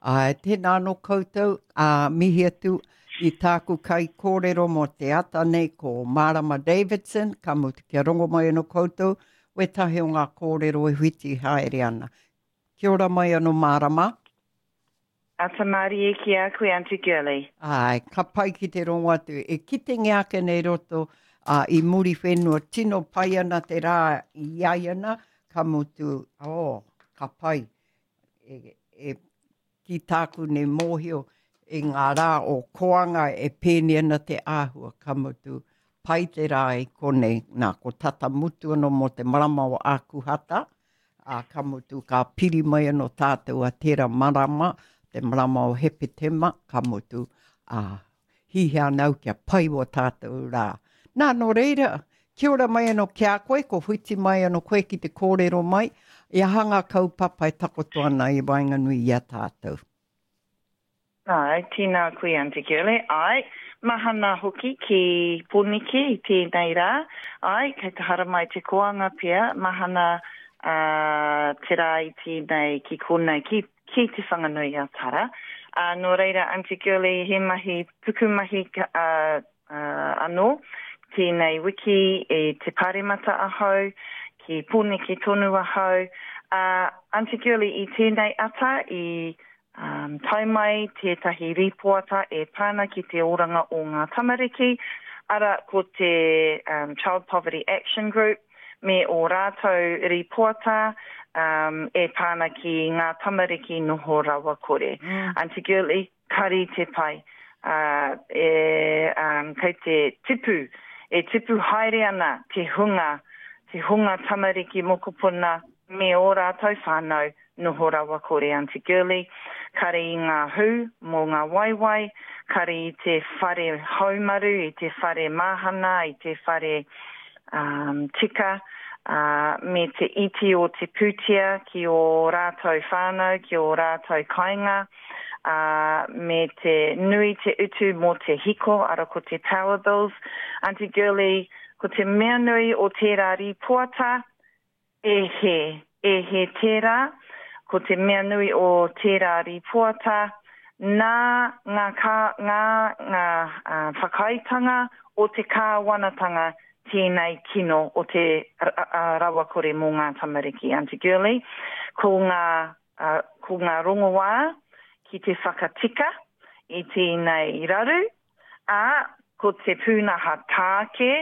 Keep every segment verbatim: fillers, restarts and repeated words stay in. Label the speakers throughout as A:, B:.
A: Āe, tēnā anō koutou, ā, mihi atu i tāku kaikōrero mō te ata nei ko Marama Davidson, ka mutu kia rongo mai anō koutou wētahi o ngā kōrero e whiti haere ana. Kia ora mai anō Marama.
B: Ata mārie ki a koe, Aunty Girlie.
A: Āe, ka pai ki te rongo atu. E kitengia ake nei roto uh, i Muriwhenua, tino pai ana te rā i ai ana, ka mutu, oh, ka pai. E, e, ki tāku nei mōhio i ngā rā o koanga e pēni ana te āhua, ka mutu, pai te rā i konei, nā, ko tata mutu anō mō te marama o Ākuhata, ā, ka mutu, ka piri mai anō tātou a tērā marama, te marama o Hepetema, ka mutu, ā, hihia ana au kia pai o tātou rā. Nā, nō reira, kia ora mai anō ki a koe, ko whiti mai anō koe ki te kōrero mai, i aha ngā kaupapa e takoto ana i waenganui i a tātou.
B: Ai, tēnā koe, Aunty Girlie. Ai, mahana hoki ki Pōneke i tēnei rā. Ai, kei te haramai te koanga pea, mahana uh, te rā i tēnei ki konei, ki, ki te Whanganui a Tara. Uh, nō reira, Aunty Girlie, he mahi, pukumahi uh, uh, anō, tēnei wiki e te paremata ahau, ki Pōneke tonu ahau. Uh, Aunty Girlie, i tēnei ata, i um, tae mai tētahi rīpoata e pāna ki te oranga o ngā tamariki, ara ko te um, Child Poverty Action Group me o rātou rīpoata um, e pāna ki ngā tamariki noho rawa kore. Mm. Aunty Girlie, kari te pai. Uh, e, um, kei te tipu, e tipu haere ana te hunga, te hunga tamariki mokopuna me o rātou whānau noho rawa kore. Aunty Girlie, kare i ngā hū mō ngā waiwai, kare i te whare haumaru, i te whare mahana, i te whare um, tika, uh, me te iti o te pūtea ki o rātou whānau, ki o rātou kainga, uh, me te nui te utu mō te hiko, ara ko te power bills. Aunty Girlie, ko te mea nui o tērā rīpoata, e he, e he tērā, ko te mea nui o tērā rīpoata, nā ngā, kā, ngā, ngā uh, whakaitanga o te kāwanatanga tēnei kino o te uh, rawakore mō ngā tamariki. Aunty Girlie, ko ngā, uh, ko ngā rongoā ki te whakatika i tēnei raru, ā, ko te pūnaha tāke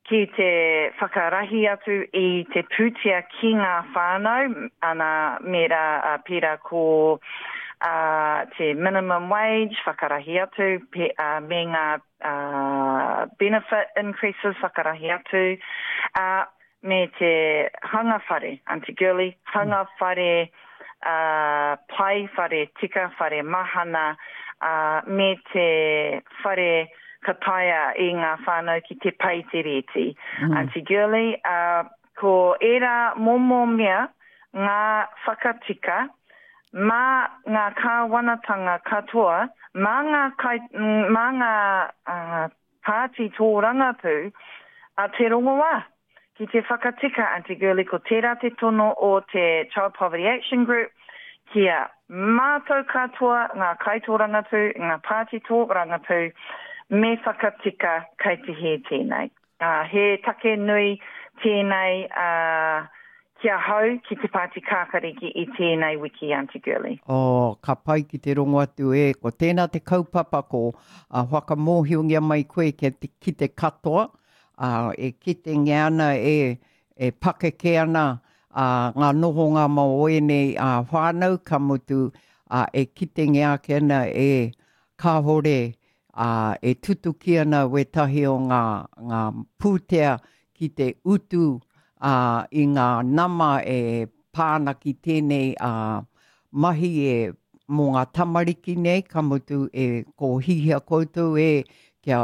B: ki te whakarahi atu i te pūtea ki ngā whānau, ana mera uh, pērā ko uh, te minimum wage, whakarahi atu, pe, uh, me ngā uh, benefit increases, whakarahi atu, uh, me te hanga whare, Aunty Girlie, hanga whare uh, pai, whare tika, whare mahana, uh, me te whare ka taea i ngā whānau ki te pei te rēti. Mm. Aunty Girlie, uh, ko ērā momo mea ngā whakatika mā ngā kāwanatanga katoa, mā ngā, kai, mā ngā uh, pāti tōrangapū a te rongoā. Ki te whakatika, Aunty Girlie, ko tērā te tono o te Child Poverty Action Group, kia mātou katoa ngā kaitōrangapū, ngā pāti tōrangapū, me whakatika kei te hē tēnei. Uh, he take nui tēnei uh, ki ahau ki te Pāti Kākariki i tēnei wiki, Aunty Girlie.
A: Oh, ka pai ki te rongo atu e. Ko tēnā te kaupapa ko uh, whakamōhiongia mai koe ki te, ki te katoa, uh, e kitengia ana e, e pakeke ana uh, ngā nohonga mō ēnei uh, whānau, ka mutu uh, e kitengia ake ana e kāhore uh, e tutuki ana wētahi o ngā, ngā pūtea ki te utu uh, i ngā nama e pāna ki tēnei uh, mahi e mō ngā tamariki nei, ka mutu e ko hihia koutou e kia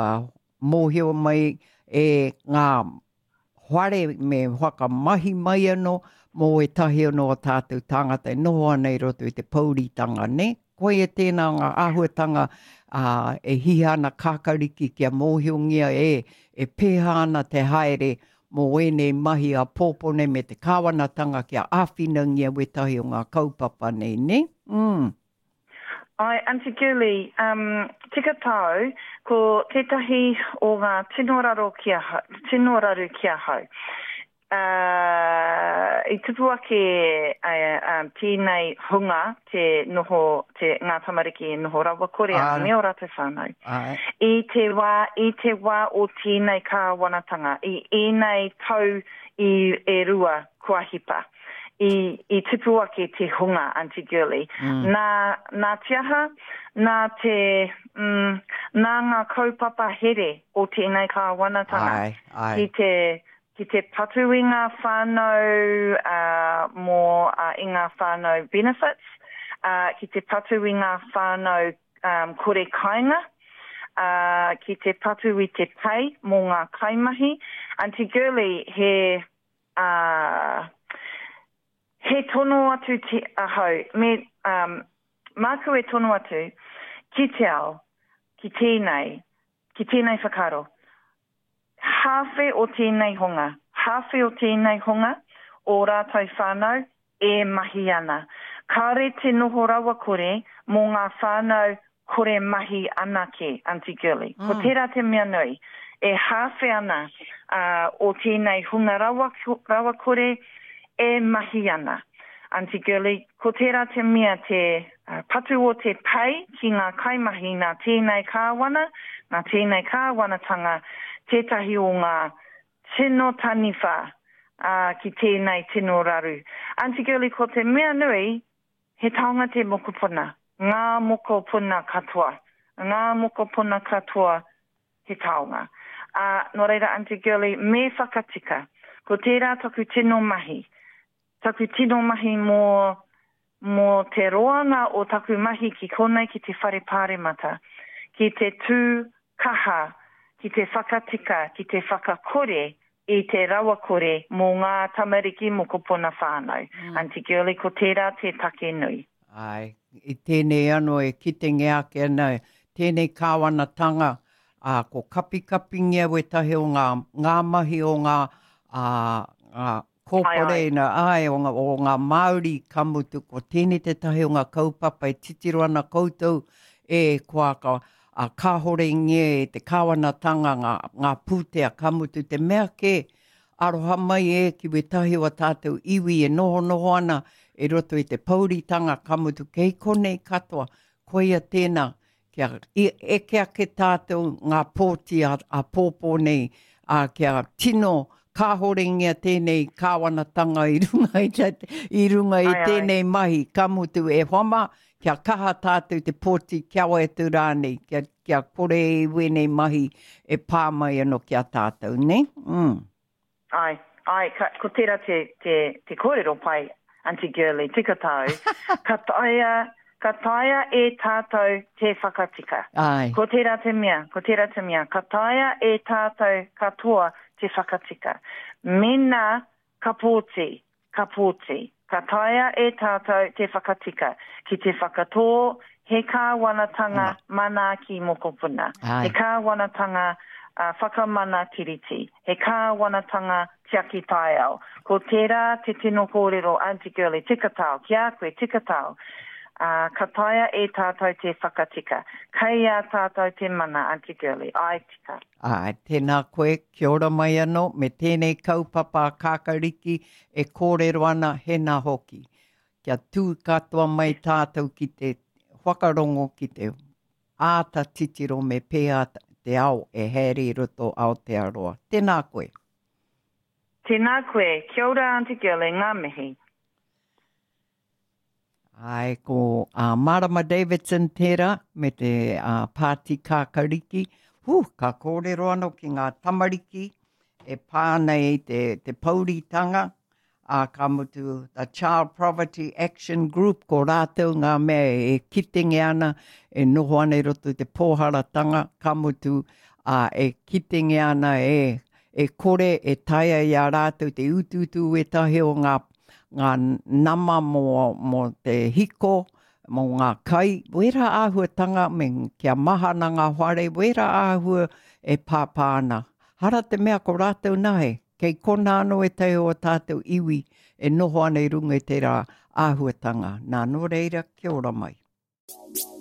A: mōhio mai e ngā whare me whakamahi mai anō mō ētahi anō o tātou tāngata e noho ana i roto i te pouritanga, ne? Koia tēnā ngā āhuatanga uh, e hihia ana kākariki kia mōhiongia e, e pēhā ana te haere mō ēnei mahi a pōpone me te kāwanatanga kia āwhinangia wētahi o ngā kaupapa nei, ne? Mm.
B: Ai, Aunty Girlie, um, tika tāu, ko tētahi o ngā tino raro ki ahau, tino raru ki ahau. Uh, i tupu ake uh, um, tēnei hunga te noho, te, ngā tamariki e noho rawakore ana me ō rātou whānau.
A: Ai.
B: I te wā, i te wā o tēnei kāwanatanga, i ēnei tau i e rua kua hipa. I, i tupu ake te hunga, Aunty Girlie.
A: Mm.
B: Nā, nā te aha, nā te, mm, nā ngā kaupapa here o tēnei kāwanatanga.
A: Ai, ai.
B: Ki te, ki te patu i ngā whānau uh, mō uh, i ngā whānau benefits, uh, ki te patu i ngā whānau um, kore kainga, uh, ki te patu i te pei mō ngā kaimahi. Aunty Girlie, he... Uh, he tono atu te ahau, me, um, māku e tono atu ki te ao, ki tēnei, ki tēnei whakaaro. Hāwhe o tēnei honga, hāwhe o tēnei honga, o rātou whānau e mahi ana. Kāre te noho rawakore mō ngā whānau kore mahi anake, Aunty Girlie.
A: Mm.
B: Ko tērā te mea nui, e hāwhe ana uh, o tēnei hunga rawa, rawakore e mahi ana. Aunty Girlie, ko tērā te mea te uh, patu o te pei ki ngā kaimahi nā tēnei kāwana, nā tēnei kāwanatanga, tētahi o ngā tino taniwha uh, ki tēnei tino raru. Aunty Girlie, ko te mea nui, he taonga te mokopuna, ngā mokopuna katoa, ngā mokopuna katoa he taonga. Uh, nō reira, Aunty Girlie, me whakatika, ko tērā taku tino mahi, taku tino mahi mō, mō te roanga o taku mahi ki konei ki te whare pāremata, ki te tū kaha, ki te whakatika, ki te whakakore i te rawakore mō ngā tamariki mokopuna whānau.
A: Mm.
B: Aunty Girlie, ko tērā te take nui.
A: Ai, i tēnei anō e kitenge ake ana, tēnei kāwanatanga, ā, ko kapikapingia wetahi o ngā, ngā mahi o ngā, ā, ngā kōporeina, ai, o ngā, o ngā Māori ka mutu, ko tēnei tētahi o ngā kaupapa e titiro ana koutou e kua ka, a kāhore nge te kāwanatanga ngā, ngā pūtea ka mutu te mea ke aroha mai e ki wetahi o tātou iwi e noho noho ana e roto i te pouritanga ka mutu kei konei katoa, koia tēnā kia eke ake tātou ngā pōti a, a pōpō nei, a kia tino kāhorengia tēnei kāwanatanga i runga i, te, i runga i
B: Ai, ai.
A: tēnei mahi, ka mutu e whama, kia kaha tātou te pōti kia wai atu rānei, kia, kia kore i wēnei mahi e pā mai anō ki a tātou, ne? Mm.
B: Ai, ai, ka, ko tērā te, te, te kōrero pai, Aunty Girlie, tika tāu, ka taea, ka taea e tātou te whakatika.
A: Ai.
B: Ko tērā te mea, ko tērā te mea, ka taea e tātou katoa te whakatika. Mena ka pōti, ka pōti, ka taea e tātou te whakatika. Ki te whakatō, he kāwanatanga manaaki mokopuna.
A: Ai.
B: He kāwanatanga uh, whakamana tiriti. He kāwanatanga tiaki taiao. Ko tērā te tino kōrero, Aunty Girlie, tika tāu, ki a koe, tika tāu. Uh, ka taea e tātou te whakatika. Kei a tātou te mana, Aunty Girlie. Ai, tika.
A: Ai, tēnā koe, kia ora mai anō, me tēnei kaupapa a Kākariki e kōrero ana hena hoki. Kia tū katoa mai tātou ki te whakarongo, ki te āta titiro me pēa te ao e haere i roto Aotearoa. Tēnā koe.
B: Tēnā koe. Kia ora, Aunty Girlie, ngā mihi.
A: Ai, ko uh, Marama Davidson tērā me te uh, Pāti Kākariki. Hū, ka kōrero anō ki ngā tamariki e pā ana i te, te pouritanga, ā, ka mutu the Child Poverty Action Group, ko rātou ngā mea e kitenge ana, e noho ana i roto i te pōharatanga, ka mutu, ā, e kitenge ana e, e kore e taea i a rātou te utuutu wetahi o ngā, ngā nama mō, mō te hiko, mō ngā kai, wera āhuatanga me kia mahana ngā whare, wera āhua e pāpā ana. Hara te mea ko rātou nahe, kei kona anō e te o tātou iwi e noho ana i runga i tērā āhuatanga. Nā, nō reira, kia ora mai.